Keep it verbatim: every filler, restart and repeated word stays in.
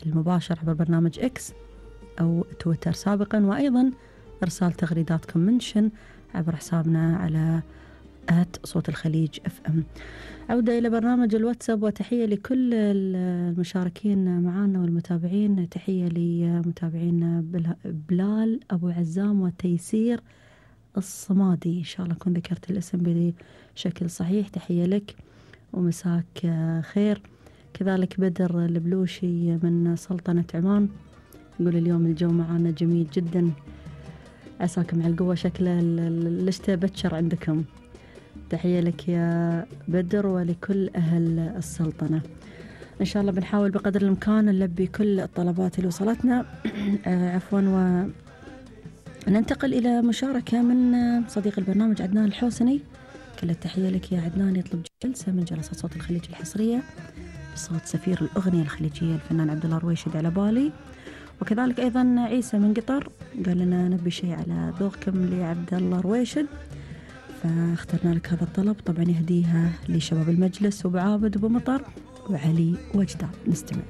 المباشر عبر برنامج إكس أو تويتر سابقا، وأيضا إرسال تغريداتكم منشن عبر حسابنا على آت صوت الخليج اف ام. عودة إلى برنامج الواتساب، وتحية لكل المشاركين معنا والمتابعين. تحية لمتابعين بلال أبو عزام وتيسير الصمادي، إن شاء الله أكون ذكرت الاسم بشكل صحيح. تحية لك ومساك خير. كذلك بدر البلوشي من سلطنة عمان يقول اليوم الجو معنا جميل جدا، عساكم على القوة، شكله الشتاء بتشر عندكم. تحية لك يا بدر ولكل أهل السلطنة. إن شاء الله بنحاول بقدر الإمكان نلبي كل الطلبات اللي وصلتنا. عفوا، وننتقل إلى مشاركة من صديق البرنامج عدنان الحوسني. كل التحية لك يا عدنان. يطلب جلسة من جلسات صوت الخليج الحصرية بصوت سفير الأغنية الخليجية الفنان عبد الله الرويشد على بالي. وكذلك أيضا عيسى من قطر قال لنا نبي شيء على ذوقكم لعبد الله الرويشد، فاخترنا لك هذا الطلب. طبعا يهديها لشباب المجلس وبعابد وبمطر وعلي وجدان. نستمع.